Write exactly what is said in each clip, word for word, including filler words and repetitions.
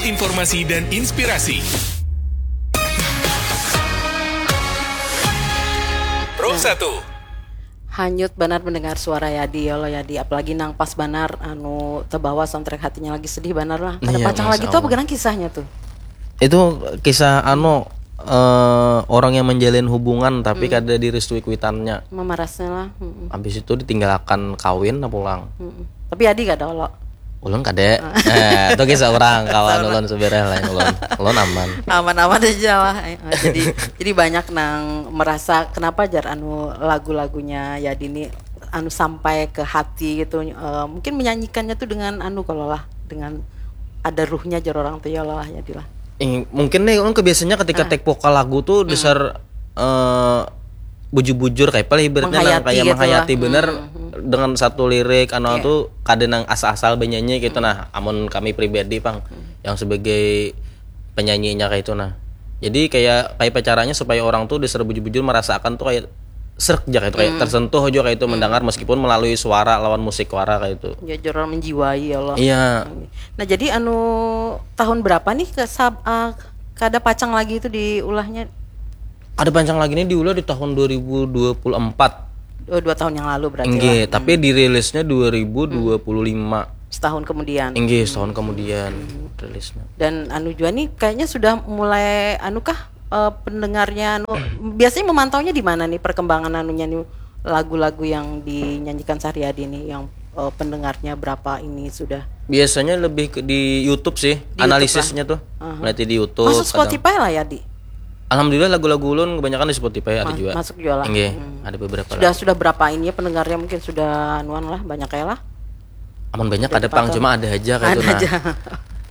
Informasi dan inspirasi. Pro satu. Hanyut banar mendengar suara Yadi, ya Allah Yadi, apalagi nang pas banar anu terbawa soundtrack hatinya lagi sedih banar lah. Kada Iya, pacang Masya lagi tuh apa Allah. Genang kisahnya tuh? Itu kisah anu eh, orang yang menjalin hubungan tapi kada direstui kuitannya. Memarasnya lah. Mm-mm, Habis itu ditinggalkan kawin nah pulang. mm-mm. Tapi Yadi kada lo. Ulun kade. Eh, itu kisah orang kawan ulun sebenarnya lain ulun. Ulun aman. Aman-aman aja lah. Eh, eh, jadi jadi banyak nang merasa kenapa jar anu lagu-lagunya Yadi ini anu sampai ke hati gitu. Eh, mungkin menyanyikannya tuh dengan anu kalau lah dengan ada ruhnya jar orang tuh ya Allah Yadi lah. Ing- mungkin nih ulun kebiasaannya ketika take vokal lagu tuh dasar eh, bujur-bujur kayak apa lah ibaratnya nang Menghayati kayak gitu menghayati lah. bener Hmm, hmm. Dengan satu lirik anu Iya. tuh kada nang asal-asal benyanyi gitu nah amun kami pribadi pang yang sebagai penyanyinya kayak itu nah jadi kayak kayak apa caranya supaya orang tuh dasar bujur-bujur merasakan tuh kayak serk aja kayak itu kayak tersentuh aja kayak itu mendengar meskipun melalui suara lawan musik suara kayak itu Ya jar orang menjiwai ya Allah. Iya. Nah jadi anu tahun berapa nih ke sab, ah, kada pacang lagi itu diulahnya? Ada pancang lagi nih diulah di tahun dua ribu dua puluh empat. Oh, dua tahun yang lalu berarti Enggih, lah. Tapi dirilisnya dua ribu dua puluh lima. Setahun kemudian. Enggih, setahun kemudian rilisnya. Dan anu jua nih kayaknya sudah mulai anu kah eh, pendengarnya anu biasanya memantaunya di mana nih perkembangan anunya nih lagu-lagu yang dinyanyikan Sahriyadi nih yang eh, pendengarnya berapa ini sudah Biasanya lebih ke di YouTube sih, YouTube analisisnya tuh. Berarti di YouTube. masuk kadang- Spotify lah ya di Alhamdulillah lagu-lagu ulun kebanyakan di Spotify ada juga. Masuk juga lah. Enggak, Hmm. ada beberapa Sudah lagu. Sudah berapa ini ya pendengarnya mungkin sudah anuan lah banyak ya lah. Amun banyak ada pang, Patut. Cuma ada aja kayak itu Ada nah. Aja.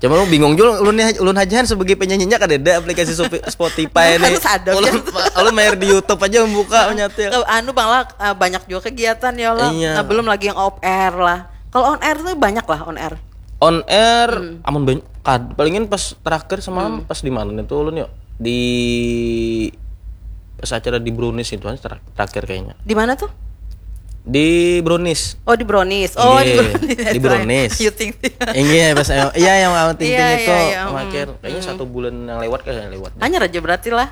Cuma lu bingung juga ulun nih ulun aja sebagai penyanyinya kada ada aplikasi Sopi- Spotify nih. Harus ada, Ulun, biar- ulun main di YouTube aja membuka menyetel. Eh, anu bang lah eh, banyak juga kegiatan ya Allah. Iya. Nah, belum lagi yang off air lah. Kalau on air tuh banyak lah on air. On air Hmm. amun banyak kad palingin pas terakhir semalam pas di mana nih tuh ulun yuk di pas acara di Brownies itu aja ter- terakhir kayaknya Di mana tuh? di Brownies. Oh di Brownies. Oh di Iya, Brownies. di Brownies. Ayu Ting Ting. Iya pas iya yang mau ting ting Iya, itu iya, iya, makin kayaknya satu bulan yang lewat kayak lewat. Hanya aja berarti lah.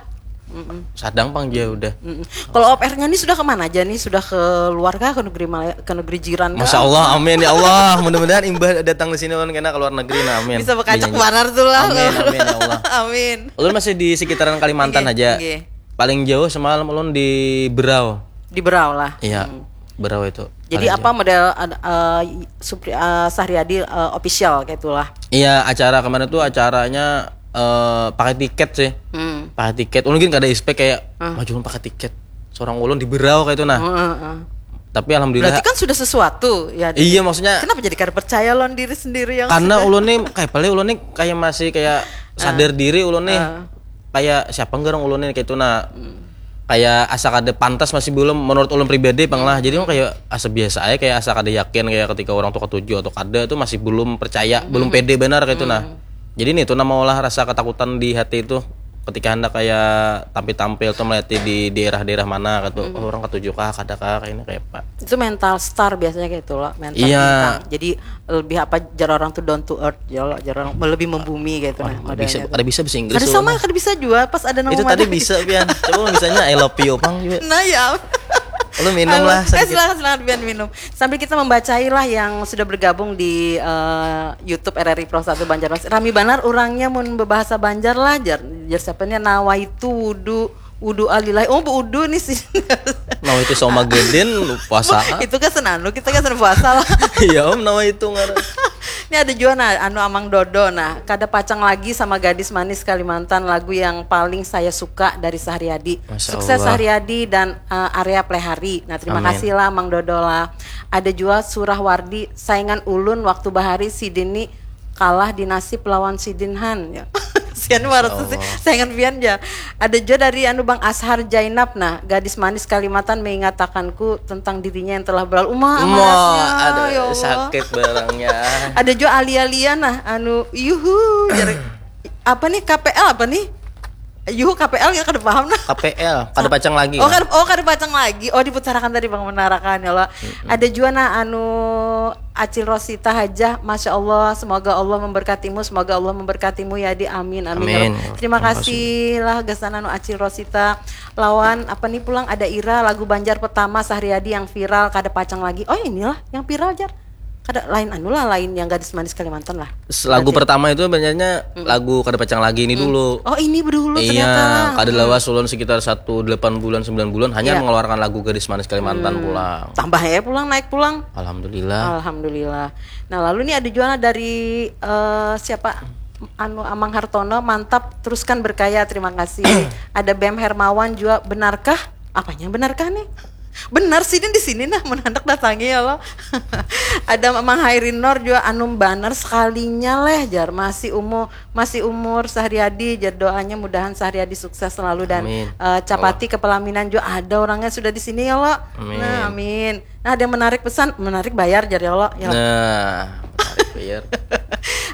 Mm-mm. Sadang pang dia udah. Mm-mm. Kalau off airnya nih sudah kemana aja nih? Sudah keluar kah ke negeri Malaya, ke negeri jiran kah? Masya Allah, amin ya Allah. Mudah-mudahan imbah datang di sini ulun kena ke luar negeri nah amin. Bisa bekajak Dinyanyi. Banar tuh lah. Amin, amin ya Allah. Amin. Ulun masih di sekitaran Kalimantan Nggih, aja. Nggih. Paling jauh semalam ulun di Berau. Di Berau lah. Iya, Hmm. Berau itu. Jadi Paling apa model ada eh, Supri eh, Sahriyadi eh, official kayak itulah. Iya, acara kemarin tuh acaranya eh, pakai tiket sih. Hmm. Pakai tiket. Ulun gin kada expect kayak maju pakai tiket. Seorang ulun di Berau kayak itu nah. Heeh, heeh. Tapi alhamdulillah Berarti kan sudah sesuatu ya. Iya, maksudnya Kenapa jadi kada percaya lawan diri sendiri yang karena sudah- ulun nih kayak paling ulun nih kayak masih kayak sadar diri ulun nih Ah. kayak siapa ngerang ulun nih kayak itu nah kayak asa kada pantas masih belum menurut ulun pribadi pang lah jadi ulun kayak asa biasa aja kayak asa kada yakin kayak ketika orang tuh ketujuh atau kada tuh masih belum percaya belum pede benar kayak itu nah jadi nih tuh nama olah rasa ketakutan di hati itu ketika hendak kayak tampil-tampil tuh melihat di daerah-daerah mana gitu oh, orang ketujuh kah kada kah kayak ini kayak apa Itu mental star biasanya kayak itu loh, mental Iya. bintang. Jadi lebih apa jar orang tuh down to earth ya loh, jar orang lebih membumi kayak itu nah Kada bisa modelnya. kada bisa bahasa Inggris Kada ulun sama, mah. Kada bisa juga pas ada nama Itu tadi model. Bisa pian. Coba bisanya I love you pang juga. Nah ya. Lu minum Halo. lah Eh sedikit. silakan silakan Bian minum. Sambil kita membacai lah yang sudah bergabung di eh, YouTube R R I Pro satu Banjarmasin. Rami banar orangnya mun berbahasa Banjar lah jar jar siapa nih nawaitu wudu wudu alilahi. Oh bu wudu nih sih. Nah itu sama gedin lu puasa. Itu kan senanu kita kan senang puasa lah. Iya om nama itu ngaran. Ini ada juga nah anu Amang Dodo nah kada pacang lagi sama gadis manis Kalimantan lagu yang paling saya suka dari Sahriyadi. Masya Sukses Allah. Sahriyadi dan uh, Arya Plehari. Nah terima Amin. Kasih lah Amang Dodo lah. Ada juga Surah Wardi saingan ulun waktu bahari sidin ni kalah di nasib lawan sidin han ya. Sian marah sih. Saingan pian ja. Ada juga dari anu Bang Ashar Jainab nah, gadis manis Kalimantan mengatakanku tentang dirinya yang telah berlalu. Uma Mo, amarasnya, ada ya Allah. Sakit barangnya. Ada juga alia-alia nah, anu yuhu jar- apa nih K P L apa nih? Yuh, K P L ya kada paham nah. K P L, kada pacang lagi. Oh, kada, oh, kada pacang lagi. Oh, diputarakan tadi Bang menarakan ya lo. Ada jua nah anu Acil Rosita Hajah, Masya Allah, semoga Allah memberkatimu, semoga Allah memberkatimu ya di amin, amin, ya Rabb. Terima kasih lah gasan anu Acil Rosita lawan apa nih pulang ada Ira lagu Banjar pertama Sahriadi yang viral kada pacang lagi. Oh, inilah yang viral jar. Kada lain anu lah, lain yang gadis manis Kalimantan lah. Lagu pertama itu sebenarnya lagu kada pacang lagi ini dulu. Oh, ini dulu ternyata. Iya, kada lawas ulun sekitar satu delapan bulan sembilan bulan hanya mengeluarkan lagu gadis manis Kalimantan pulang. Tambah ya pulang naik pulang. Alhamdulillah. Alhamdulillah. Nah, lalu nih ada juga dari eh, siapa anu Amang Hartono, mantap teruskan berkaya, terima kasih. Ada Bem Hermawan juga, benarkah? Apanya benarkah nih? Benar sih di sini nah menandak datangi ya lo. Ada Mang Hairin Nor juga, anu banar sekalinya leh jar, masih umur masih umur Sahriadi jar, doanya mudahan Sahriadi sukses selalu dan Amin. eh, capati kepelaminan juga ada orangnya sudah di sini ya lo. Amin. Nah, amin. Nah, ada yang menarik pesan, menarik bayar jar ya lo. Ya lo. Nah, menarik bayar.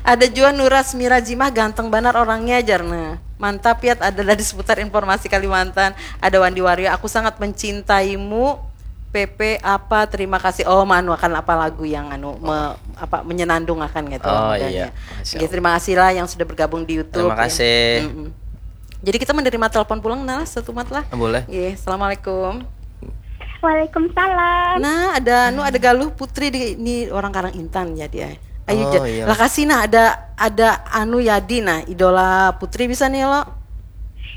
Ada juga Nuras Mirajimah, ganteng banar orangnya jar. Nah, mantap ya, adalah di seputar informasi Kalimantan. Ada Wandi Wario, aku sangat mencintaimu. P P apa, terima kasih. Oh, manuakan apa lagu yang anu me- apa menyenandung akan gitu Oh, lah iya. modalnya. Masya Oke, terima kasih lah yang sudah bergabung di YouTube. Terima Ya. kasih. Mm-mm. Jadi kita menerima telepon pulang nah satu mat lah. Ah, boleh. Iya, assalamualaikum. Waalaikumsalam. Nah, ada anu ada Galuh Putri di ini orang Karang Intan ya dia. Ayo Oh, jar. Iya. Lah kasih nah ada ada anu Yadi nah idola Putri bisa nih lo.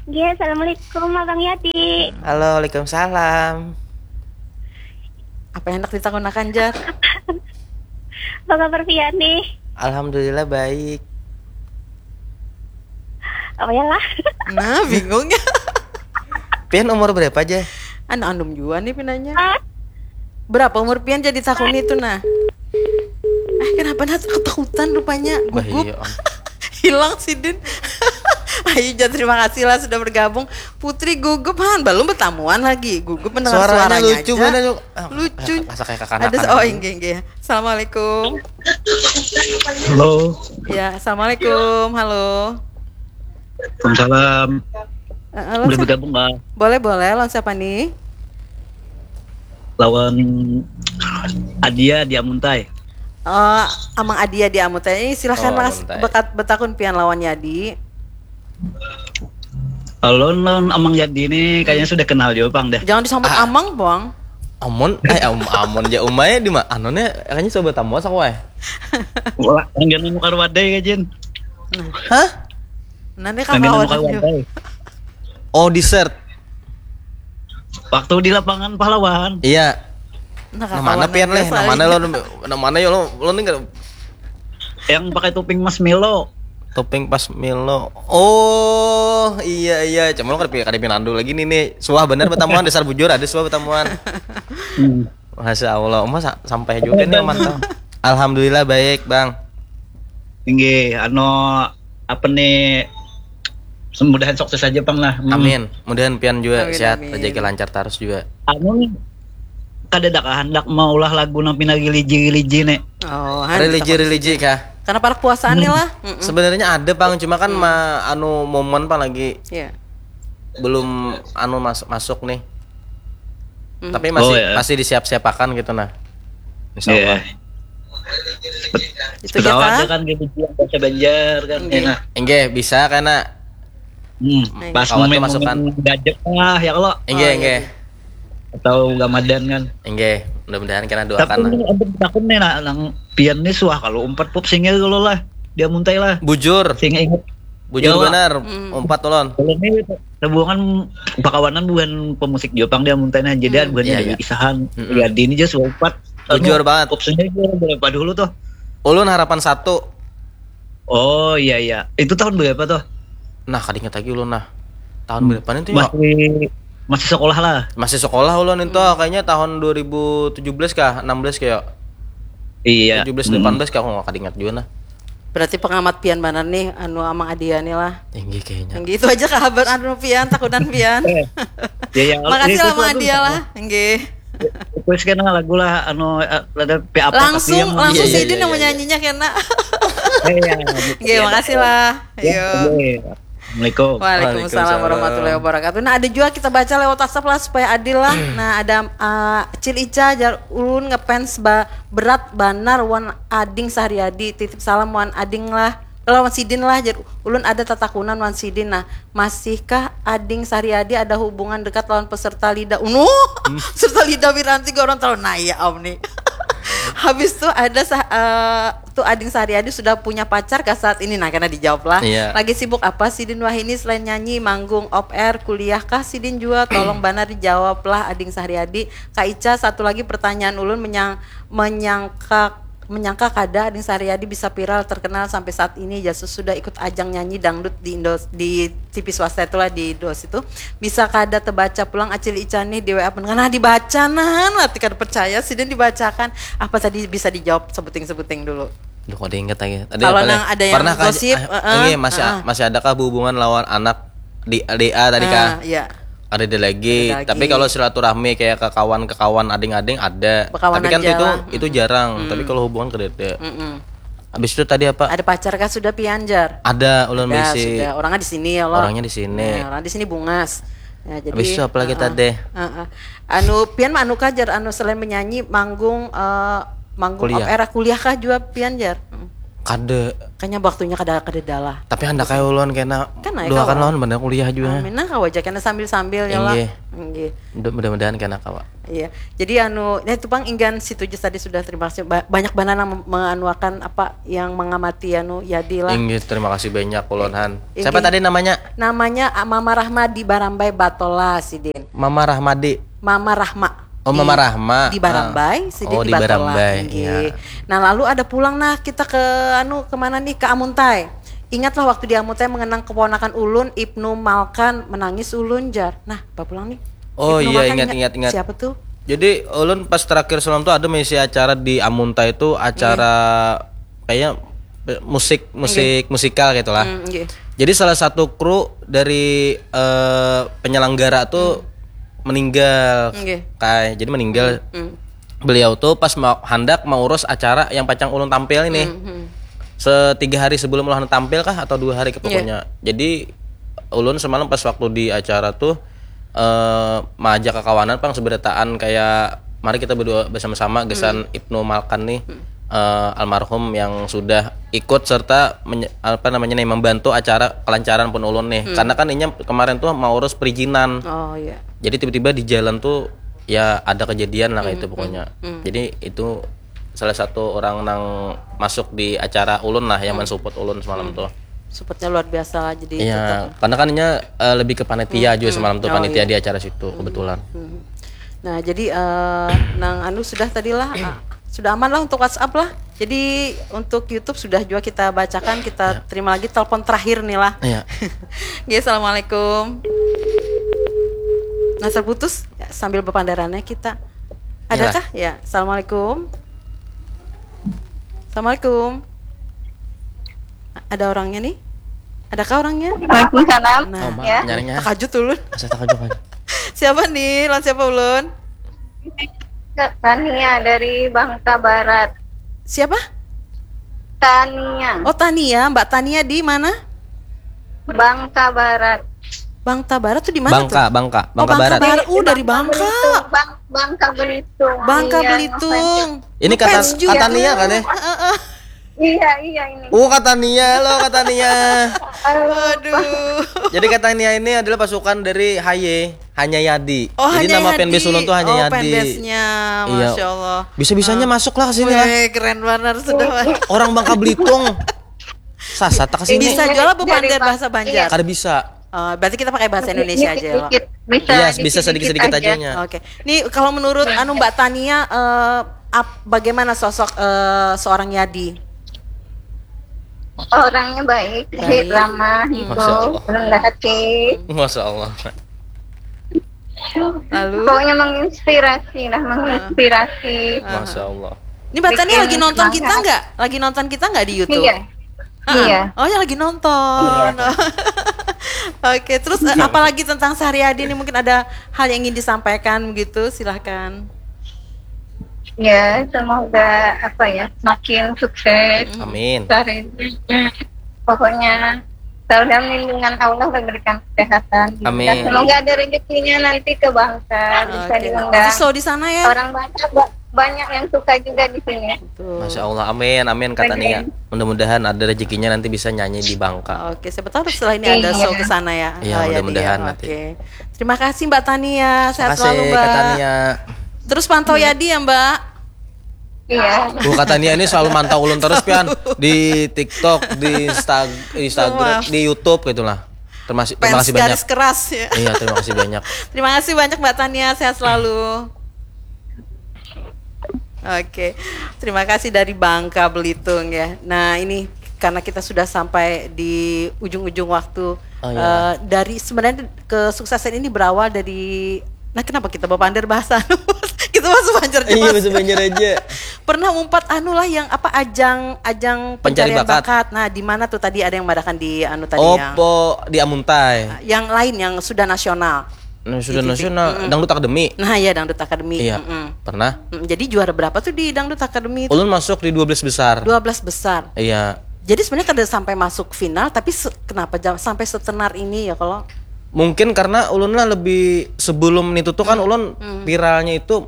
Iya, assalamualaikum Abang Yadi. Halo, waalaikumsalam. Apa yang hendak ditakunakan jar? Apa kabar pian nih? Alhamdulillah baik. Oh ya lah. Nah, bingung ya. Pian umur berapa aja? Anu andum juga nih pinanya. Ah, Berapa umur pian jadi tahun itu nah? Eh, kenapa nah ketakutan rupanya Bah, gugup. Iya. Hilang sidin. Ayo jar terima kasih lah sudah bergabung. Putri gugup han belum bertamuan lagi. Gugup mendengar Suaranya suaranya, lucu aja. Banget, yuk. Ah, Lucu. Rasa kayak kakanakan. Ada se- oh inggih inggih. Assalamualaikum. Halo. Ya, assalamualaikum. Halo. Waalaikumsalam. Eh, halo, Boleh sa- bergabung nggak? Boleh boleh lawan siapa nih? Lawan Adia di Amuntai. Oh, Amang Adia di Amuntai. Silahkan Oh, Mas Amuntai. Bekat betakun pian lawan Yadi. Lawan lawan Amang Yadi ini kayaknya sudah kenal juga pang deh. Jangan disambut Ah. Amang, Bang. Amon, eh am, Amon ja umai di mana? Anonnya kayaknya coba tamu sak wae. Wah, anggar nemu karuadai ya Jin. Hah? Nanti Anggar nemu kawan. Karuadai. Oh, dessert. Waktu di lapangan pahlawan. Iya. Nah, Nah, mana pian leh? Nah, mana lo? Nah, mana yo lo? Lo nih nggak Yang pakai topping marshmallow. Topping pas Milo. Oh, iya iya. Cuma lo kada kada pinandu lagi nih nih. Suah bener pertemuan dasar bujur ada suah pertemuan. Hmm. Masya Allah, Uma sa- sampai juga nih mantap. Alhamdulillah baik, Bang. Tinggi, ano apa nih? Mudahan sukses aja pang lah. Hmm. Amin. Mudahan pian juga Amin, sehat, amin. Rezeki lancar terus juga. Anu nih, kada ada kehendak maulah lagu nang pina religi-religi nih. Oh, han, Religi takut. Religi kah? Karena parak puasaan nih lah. Mm-mm. Sebenarnya ada, Bang, cuma kan ma- anu momen, Bang, lagi Iya. belum anu masuk masuk nih. Hmm. Tapi masih Oh, ya. Masih disiap-siapakan gitu nah. Insya Allah. Iya. Itu ya Ketawa aja kan? Kan gitu, bahasa Banjar kan. Oke. Enak. Enggak bisa karena Hmm, Nah, pas Kawan tuh momen masukan. Gajah lah ya kalau enggak Oh, enggak. iya. Atau Ramadan kan. Enggak, mudah-mudahan kena doakan Tapi lah. Untuk takun nih nah, nang pian nih suah kalau umpat pop singgil kalau lah dia muntai lah. Bujur, Sing ingat bujur Jawa. Benar. Hmm. Umpat ulun. Kalau ini hubungan pakawanan bukan pemusik Jepang dia muntai nah jadi Hmm. bukan Iya, jadi iya. Kisahan. Mm-mm. Ya dini aja suah umpat. Bujur Anu, banget. Pop singgil berapa dulu tuh? Ulun harapan satu. Oh iya iya. Itu tahun berapa tuh? Nah, kada ingat lagi ulun nah. Tahun berapa itu ya? Masih masih sekolah lah. Masih sekolah ulun itu kayaknya tahun dua ribu tujuh belas kah, enam belas kayak. Iya. Tujuh belas delapan belas kah, aku nggak kada ingat juga nah. Berarti pengamat pian banar nih anu Amang Adia nih lah. Tinggi kayaknya. Yang gitu aja kabar anu pian takutan pian. Eh, ya ya. Makasih Itu lah Amang tuh Adia lah. Nggih. Terus kan lagu lah anu eh, ada P A P Langsung yang langsung Iya, iya, sidin iya, yang iya. menyanyinya kena. Iya. Nggih, makasih lah. Ya, Ayo. oke. Assalamualaikum. Waalaikumsalam warahmatullahi wabarakatuh. Nah, ada juga kita baca lewat WhatsApp lah supaya adil lah. Nah, ada uh, Cil Ica jar ulun ngefans ba berat banar wan Ading Sahriadi. Titip salam wan Ading lah. Lawan Sidin lah jar ulun ada tatakunan wan Sidin. Nah, masihkah Ading Sahriadi ada hubungan dekat lawan peserta Lida? Unu, peserta Lida Wiranti gue orang tahu. Nah, ya om nih. Habis tuh ada sah, uh, tuh Ading Sahriadi sudah punya pacar kah saat ini? Nah, karena dijawab lah. Iya. Lagi sibuk apa Sidin Wahini selain nyanyi, manggung, off air, kuliah kah Sidin jua? Tolong banar dijawab lah Ading Sahriadi. Kak Ica, satu lagi pertanyaan ulun menyang, menyangka menyangka kada Ading Sahriadi bisa viral terkenal sampai saat ini. Jasus sudah ikut ajang nyanyi dangdut di Indo di T V swasta itulah di Indo situ. Bisa kada terbaca pulang Acil Ica nih di W A pendengar. Nah, dibaca nah, nanti kada percaya Sidin dibacakan. Apa tadi bisa dijawab sebuting-sebuting dulu. Duh, kok diingat lagi. Tadi Kalau apa nang lagi? Ada yang Pernah kah- gosip, ah, heeh, ini masih heeh. Masih adakah hubungan lawan anak di D A tadi kah? Ah, iya. Ada ada lagi. Ada lagi. Tapi kalau silaturahmi kayak ke kawan ke kawan ading-ading ada. Bekawanan Tapi kan itu jalan. Itu jarang. Tapi kalau hubungan kada ada. Mm-mm. Habis itu tadi apa? Ada pacar kah sudah pian jar? Ada ulun Ya, bisi. Sudah. Orangnya di sini ya lo. Orangnya di sini. Nah, orang di sini bungas. Ya, jadi Habis itu apa lagi heeh, tadi? Heeh. Anu pian mah anu kah jar anu selain menyanyi manggung eh, manggung Kuliah. Off air kuliah kah juga pian jar? Hmm. Kada. Kayaknya waktunya kada kada dalah. Tapi hendak kayak ulun kena Kan naik dua kan kawa. lawan bener kuliah juga. Amin nah kawa aja kena sambil-sambil ya lah. Inggih. Inggih. Mudah- Mudah-mudahan kena kawa. Iya. Jadi anu, nah itu pang inggan situ aja tadi sudah terima kasih. Ba- banyak banget yang menganuakan apa yang mengamati anu Yadi lah. Inggih, terima kasih banyak ulun han. Inggih. Siapa tadi namanya? Namanya ah, Mama Rahmadi Barambai Batola Sidin. Mama Rahmadi. Mama Rahma. Oh, Mama Rahma. Di Barambai, Ah. Sidin Oh, di di Batola. Barambai, Inggih. Iya. Nah, lalu ada pulang nah kita ke anu kemana nih ke Amuntai. Ingatlah waktu di Amuntai mengenang keponakan ulun Ibnu Malkan menangis ulun jar. Nah, apa pulang nih? Oh, Ibnu iya, Malkan ingat, ingat, ingat. Siapa tuh? Jadi ulun pas terakhir semalam tuh ada misi acara di Amuntai itu acara kayak musik musik musikal gitu lah. Hmm, inggih. Jadi salah satu kru dari eh, penyelenggara tuh meninggal. Inggih. Kai, jadi meninggal. Hmm. Beliau tuh pas mau hendak mengurus acara yang pacang ulun tampil ini. Hmm. Setiga hari sebelum ulun tampil kah atau dua hari ke pokoknya. Jadi ulun semalam pas waktu di acara tuh eh maajak kakawanan pang seberataan kayak mari kita berdua bersama-sama gesan Ibnu Malkan nih eh, almarhum yang sudah ikut serta menye- apa namanya nih membantu acara kelancaran pun ulun nih. Karena kan inya kemarin tuh mau urus perizinan. Oh iya. Jadi tiba-tiba di jalan tuh ya ada kejadian lah kayak itu pokoknya. Jadi itu salah satu orang nang masuk di acara ulun lah yang mensupport ulun semalam tuh. Supportnya luar biasa lah jadi Iya, tetap. Karena kan inya eh, lebih ke panitia juga semalam tuh Oh, panitia iya. di acara situ kebetulan. Hmm. Nah, jadi eh, nang anu sudah tadi lah, ah, sudah aman lah untuk WhatsApp lah. Jadi untuk YouTube sudah juga kita bacakan, kita terima lagi telepon terakhir nih lah. Iya. Oke, assalamualaikum. Nah, terputus ya, sambil berpandarannya kita. Adakah? Ya, assalamualaikum. Assalamualaikum. Ada orangnya nih? Adakah orangnya? Waalaikumsalam. Nah, Oh, ma- Ya. nyarinya. Takajut ulun. Asa takajut kan. Siapa nih? Lawan siapa ulun? Tania dari Bangka Barat. Siapa? Tania. Oh, Tania, Mbak Tania di mana? Bangka Barat. Bangka Barat tuh di mana Bangka, tuh? Bangka, Oh, Bangka Barat. Barat. Uh, dari Bangka. Belitung. Bang, Bangka Belitung. Bangka Iya, Belitung. Ini kata Ngefans juga. Tania kan ya? Heeh. Iya, iya ini. Oh, Katania lo, Katania. Waduh. Jadi Katania ini adalah pasukan dari Haye, Hanya Yadi. Oh, Jadi Hanya nama Yadi. fanbase ulun tuh Hanya Oh, Yadi. fanbase-nya, Iya. Masya Allah. Bisa-bisanya masuk lah ke sini lah. Weh, keren banget sudah. Orang Bangka Belitung. Sasat ke sini. Bisa jual apa Dari Banjar Bang- bahasa Banjar? Kada bisa. Eh, berarti kita pakai bahasa Indonesia aja ya, lo. Dikit-dikit. Bisa, Iya, bisa sedikit-sedikit aja nya. Oke. Nih kalau menurut anu Mbak Tania eh, ap- bagaimana sosok eh, seorang Yadi? Orangnya baik, Baik. ramah gitu, Masya Allah. rendah hati. Masya Allah. Lalu Pokoknya menginspirasi lah, menginspirasi. Masya Allah. Ini Mbak Tania Bikin lagi nonton semangat. kita nggak? Lagi nonton kita nggak di YouTube? Iya. Ah, Iya. Oh ya lagi nonton. Oke, terus eh, apalagi tentang Sahriadi ini mungkin ada hal yang ingin disampaikan begitu, silahkan. Ya, semoga apa ya, makin sukses. Amin. Karirnya. Pokoknya Semoga lindungan Allah memberikan kesehatan. Amin. Semoga ada rezekinya nanti ke Bangka, bisa Oke. diundang. Masih slow di sana ya. Orang Bangka ba- banyak yang suka juga di sini. Betul. Masya Allah, amin, amin kata Oke. Nia. Mudah-mudahan ada rezekinya nanti bisa nyanyi di Bangka. Oke, siapa tahu setelah ini ada Iya. show ke sana ya. Iya, Ah, ya, mudah-mudahan Nia. nanti. Oke. Terima kasih Mbak Tania, sehat Makasih selalu Mbak. Kak Tania. Terus pantau Yadi ya Mbak. Iya. Wah, Kak Tania ini selalu mantau ulun terus pian di TikTok, di Insta- Instagram, Maaf. Di YouTube gitulah. Terima kasih, terima Fans kasih banyak. Garis keras ya. Iya, terima kasih banyak. Terima kasih banyak Mbak Tania, sehat selalu. Oke, terima kasih dari Bangka Belitung ya. Nah ini karena kita sudah sampai di ujung-ujung waktu. Oh, iya. Eh, dari sebenarnya kesuksesan ini berawal dari, nah kenapa kita bapander bahasa anu? Kita masuk Banjar Iya, jelas. Bahasa Banjar aja. Pernah umpat anu lah yang apa ajang ajang Pencari pencarian bakat. bakat. Nah di mana tuh tadi ada yang madakan di anu tadi yang Opo di Amuntai. yang lain yang sudah nasional. Nah, sudah Di T V. nasional, Dangdut Academy. Nah ya Dangdut Academy. Iya, Mm-mm. Pernah. Mm, jadi juara berapa tuh di Dangdut Academy itu? Ulun masuk di dua belas besar. Dua belas besar. Iya. Jadi sebenarnya kada sampai masuk final, tapi se- kenapa jam sampai setenar ini ya kalau? Mungkin karena ulun lah lebih sebelum itu tuh kan ulun viralnya itu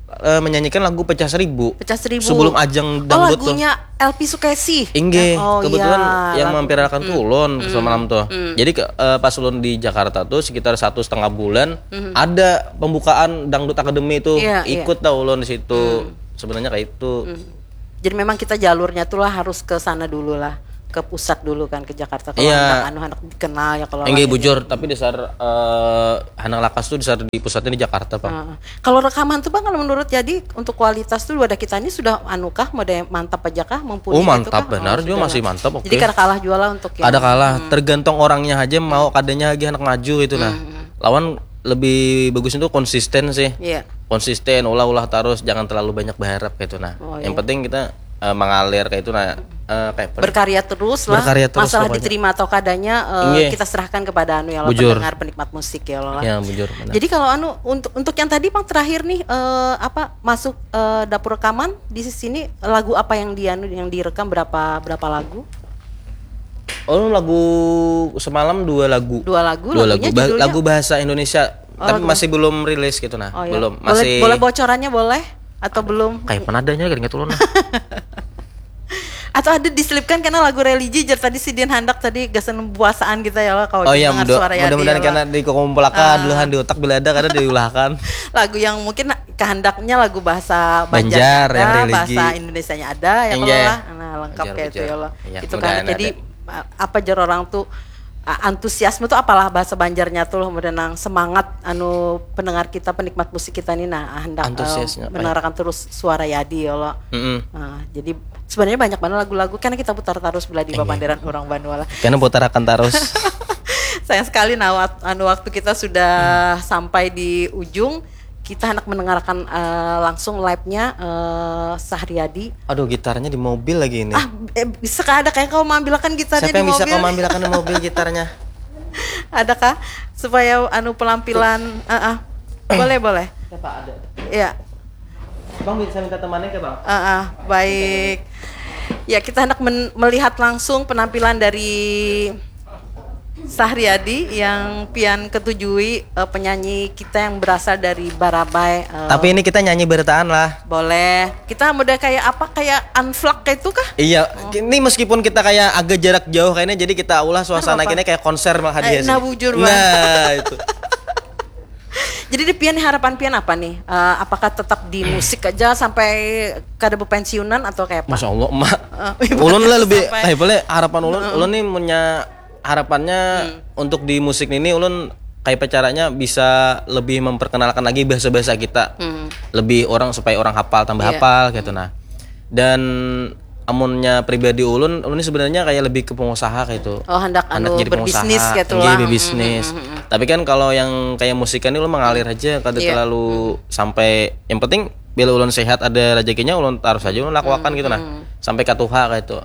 eh, menyanyikan lagu Pecah Seribu. Pecah Seribu. Sebelum ajang Oh dangdut tuh. Lagunya L P Sukesi. Inggih, Oh, kebetulan iya, yang lagu- memviralkan tuh ulun semalam tuh. Jadi ke- eh, pas ulun di Jakarta tuh sekitar satu setengah bulan ada pembukaan Dangdut Academy tuh Iya, iya. Ikut dah ulun di situ. Sebenarnya kayak itu. Jadi memang kita jalurnya tuh lah harus ke sana dulu lah, ke pusat dulu kan, ke Jakarta. Kalau Iya. Anak anu anak dikenal ya kalau Enggak lahirnya. Bujur, tapi dasar eh, Hanang Lakas tuh dasar di pusatnya di Jakarta, Pak. Heeh. Kalau rekaman tuh bang, kalau menurut jadi untuk kualitas tuh wadah kita ini sudah anu kah, model mantap aja kah, mumpuni Oh, gitu mantap kah? benar, Oh, juga sudah. Masih mantap, oke. Jadi kada kalah jual lah untuk yang Ada kalah, tergantung orangnya aja mau kadanya lagi anak maju gitu nah. Lawan lebih bagus itu konsisten sih. Iya. Konsisten, ulah-ulah terus, jangan terlalu banyak berharap gitu nah. Oh, Yang iya. Penting kita eh, mengalir kayak itu nah. Eh, kayak apa? Berkarya terus lah. Berkarya terus Masalah pokoknya. Diterima atau kadanya eh, Inggih. Kita serahkan kepada anu ya Allah, Bujur. Pendengar, penikmat musik ya Allah. Ya bujur. Benar. Jadi kalau anu untuk untuk yang tadi bang terakhir nih eh, apa masuk eh, dapur rekaman di sini, lagu apa yang di anu yang direkam, berapa berapa lagu? Oh, lagu semalam dua lagu. Dua lagu, Dua lagu. lagunya Bah- judulnya? Lagu bahasa Indonesia. Oh, Tapi lagu- masih belum rilis gitu nah. Oh, ya. Belum. Boleh, Masih boleh bocorannya boleh atau belum? Kayak penadanya gak ingat ulun lah. Atau ada diselipkan karena lagu religi jar tadi sidin handak tadi gasan puasaan kita ya Allah, kalau Oh iya, dengar mudah- suara Yadi mudah-mudahan ya Allah. Karena dikumpulakan dulu han di otak bila ada karena diulahkan. Lagu yang mungkin kehendaknya lagu bahasa Banjar, Banjarnya yang ada, religi. Bahasa Indonesianya ada ya kalau Enggak. lah. Nah, lengkap Banjar, kayak itu Banjar. ya Allah. Iya, Itu kan mudahan jadi ada. Apa jar orang tuh uh, antusiasme tuh apalah bahasa Banjarnya tuh loh, mudah nang semangat anu pendengar kita, penikmat musik kita nih nah hendak uh, Antusiasnya apa ya? Mendengarkan terus suara Yadi ya Allah. Mm-mm. Nah, jadi sebenarnya banyak banget lagu-lagu karena kita putar terus bila di Iya. Banjar orang Banua lah. Karena putarakan terus. Sayang sekali nah wak- anu waktu kita sudah sampai di ujung, kita hendak mendengarkan uh, langsung live-nya uh, Sahriadi. Aduh, gitarnya di mobil lagi ini. Ah, eh, bisa kah ada kayak kau mengambilkan gitarnya Siapa di yang bisa mobil? Kau ambilkan di mobil gitarnya? Adakah supaya anu penampilan? Ah, ah. Boleh, boleh. Siapa ada? Ya, Bang bisa minta temannya ke bang? ah, ah, baik. Ya, kita hendak men- melihat langsung penampilan dari Sahriadi yang pian ketujui, eh, penyanyi kita yang berasal dari Barabai. Eh, Tapi ini kita nyanyi bertaan lah. Boleh. Kita model kayak apa? Kayak unvlog kayak itu kah? Iya, ini meskipun kita kayak agak jarak jauh kayaknya, jadi kita ulah suasana Kenapa? Kini kayak konser mah Eh, hadiahnya. Nah, bujur Nah, itu. Jadi di pian harapan pian apa nih? Eh, apakah tetap di musik aja sampai kada berpensiunan atau kayak apa? Masya Allah, emak. Eh, Ulun lah lebih, sampai- kayak boleh harapan ulun, ulun nih punya harapannya Hmm. untuk di musik ini ulun kayak apa caranya bisa lebih memperkenalkan lagi bahasa-bahasa kita. Hmm. Lebih orang supaya orang hafal tambah Iya. Hafal gitu nah. Dan amunnya pribadi ulun, ulun ini sebenarnya kayak lebih ke pengusaha kayak itu. Oh, hendak anu Hendak jadi berbisnis pengusaha, gitu iya, lah. berbisnis. Hmm, hmm, hmm. Tapi kan kalau yang kayak musik kan ini ulun mengalir aja kada Iya. terlalu sampai, yang penting bila ulun sehat ada rezekinya ulun terus aja ulun lakukan gitu nah. Hmm. Sampai katuha kayak itu.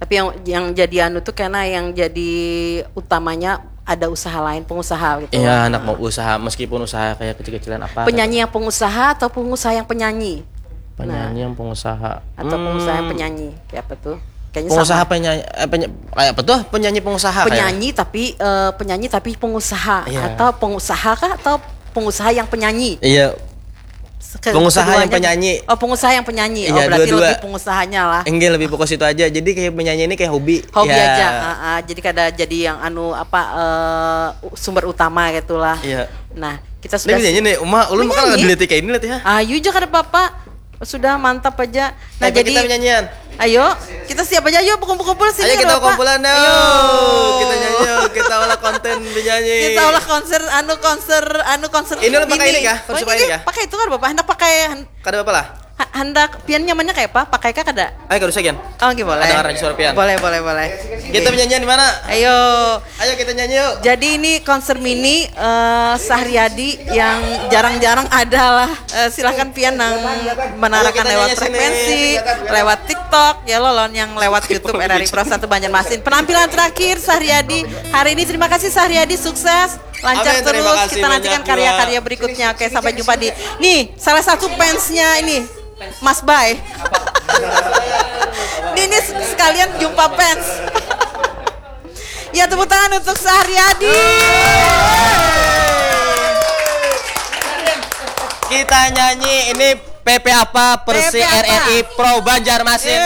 Tapi yang yang jadi anu tuh karena yang jadi utamanya ada usaha lain, pengusaha gitu. Iya, anak mau usaha meskipun usaha kayak kecil-kecilan apa. Penyanyi yang pengusaha atau pengusaha yang penyanyi? Penyanyi yang pengusaha. Atau pengusaha yang Hmm, penyanyi? Kayak apa tuh? Kayaknya pengusaha sama. Penyanyi, eh, peny- kayak apa tuh, penyanyi pengusaha kayak? Penyanyi tapi uh, penyanyi tapi pengusaha. Iya. Atau pengusaha kah atau pengusaha yang penyanyi? Iya. Ke- pengusaha keduanya, yang penyanyi. Oh, pengusaha yang penyanyi. Iya, oh, berarti dua-dua. Lebih pengusahanya lah. Enggak, lebih fokus itu aja. Jadi kayak penyanyi ini kayak hobi. Hobi ya. Aja. Uh, uh, jadi kada jadi yang anu apa uh, sumber utama gitulah. Iya. Nah, kita sudah. Ini penyanyi nih, Uma, ulun bakal dilihat kayak ini lihat ya. Ayu aja kada apa-apa. Sudah mantap aja. Nah, jadi kita menyanyian. Ayo, kita siap aja. Ayo, kumpul-kumpul sini. Ayo, kita kumpulan dong. Ayo. Kita nyanyi, kita olah konten penyanyi. Kita olah konser, anu konser, anu konser. Ini lo pakai ini kah? Pakai itu kan Bapak, hendak pakai. Kada apa-apa lah. Hendak pian nyamannya kayak apa? Pakai kah kada? Ayo, kada usah, Gian. Oh, oke, boleh. Ada orang suara pian. Boleh, boleh, boleh. Kita menyanyian di mana? Ayo. Ayo kita nyanyi yuk. Jadi ini konser mini uh, Sahriadi yang jarang-jarang ada lah. Uh, silahkan pian nang menarakan lewat frekuensi, lewat TikTok ya lo, lawan yang lewat YouTube R R I Pro satu Banjarmasin. Penampilan terakhir Sahriadi hari ini. Terima kasih Sahriadi, sukses, lancar terus. Kita nantikan karya-karya berikutnya. Oke, sampai jumpa di nih salah satu fansnya ini. Mas Bay. Ini sekalian jumpa fans. Ya, tepuk tangan untuk Sahriadi. Kita nyanyi ini P P apa Persi R R I Pro Banjarmasin.